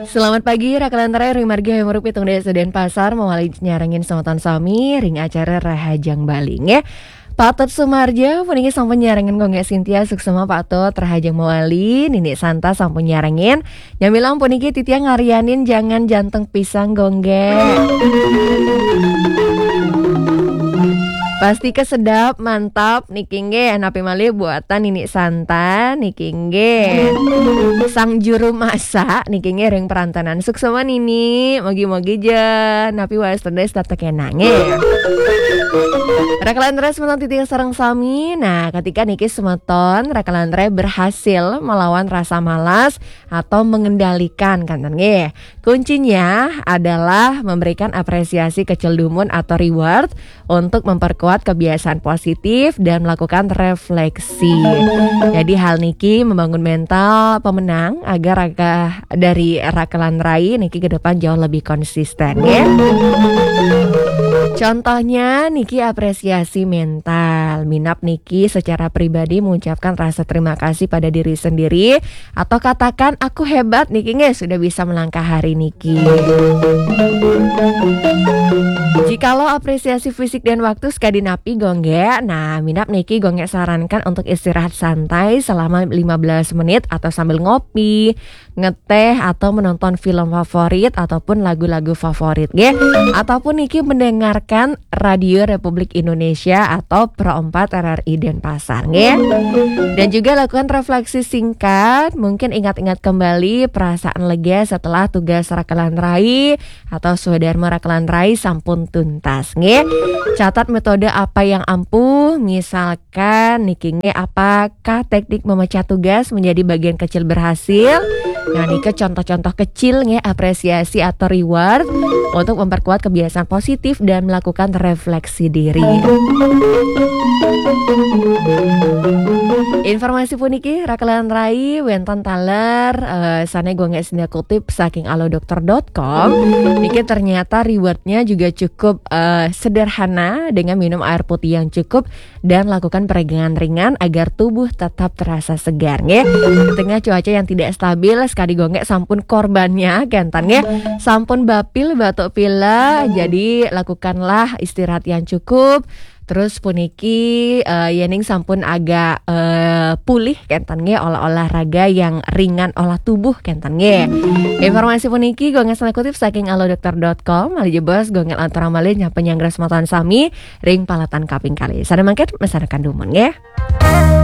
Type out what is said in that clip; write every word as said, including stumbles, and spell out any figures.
Selamat pagi, Rakalan Rai, ring margi Hayam Rupi, tung daya Denpasar, mawali nyarengin semeton sami ring acara Rahajeng Bali, nggih. Patut Sumarja, puniki sampun nyarengin Gung Gek Sintia, suksma Patut, Rahajeng mawali, Nini Santa sampun nyarengin. Nyamilang puniki titiang ngaryanin jangan jantung pisang, Gung Gek. Pasti kesedap, mantap, niki nggih, napi malih buatan Nini Santa, niki nggih. Sang juru masak, niki nggih ring perantanan. Suksma Nini, mugi-mugi ja, napi wae sedaya tetep enak nggih. Rakalan Rai semeton titiang sareng sami. Nah, ketika niki semeton, Rakalan Rai berhasil melawan rasa malas atau mengendalikan, kan nggih. Kuncinya adalah memberikan apresiasi kecil dumun atau reward untuk memperkuat kebiasaan positif dan melakukan refleksi. Jadi hal niki membangun mental pemenang agar raga dari Rakalan Rai niki ke depan jauh lebih konsisten, ya. Contohnya niki apresiasi mental. Minab niki secara pribadi mengucapkan rasa terima kasih pada diri sendiri atau katakan aku hebat niki nggih sudah bisa melangkah hari niki. Jikalau apresiasi fisik dan waktu sekadi napi Gung Gek, nah minab niki Gung Gek sarankan untuk istirahat santai selama lima belas menit atau sambil ngopi, ngeteh atau menonton film favorit ataupun lagu-lagu favorit nggih. Ataupun niki mendengarkan Radio Republik Indonesia atau Pro empat R R I Denpasar nggih. Dan juga lakukan refleksi singkat, mungkin ingat-ingat kembali perasaan lega setelah tugas Rakalan Rai atau swadarma Rakalan Rai sampun tuntas nggih. Catat metode apa yang ampuh, misalkan niki nggih, apakah teknik memecah tugas menjadi bagian kecil berhasil? Nah, niki contoh-contoh kecil nggih, apresiasi atau reward untuk memperkuat kebiasaan positif dan melakukan refleksi diri. Informasi puniki Rakalan Rai wenten taler, eh, sane Gung Gek Sintia kutip saking alodokter dot com. Niki ternyata rewardnya juga cukup, eh, sederhana dengan minum air putih yang cukup dan lakukan peregangan ringan agar tubuh tetap terasa segar nggih. Di tengah cuaca yang tidak stabil, sekadi Gung Gek sampun korbannya kenten nggih. Sampun bapil batuk pilek, jadi lakukanlah istirahat yang cukup. Terus puniki, eh, yening sampun agak, eh, pulih kenten nggih, olah olahraga yang ringan, olah tubuh kenten nggih. Informasi puniki Gung Gek Sintia kutip saking alodokter dot com. Malih jebos Gung Gek lanturang malih nyapa nyanggra semeton sami ring paletan kaping kalih. Sane mangkin mesanaken dumun nggih.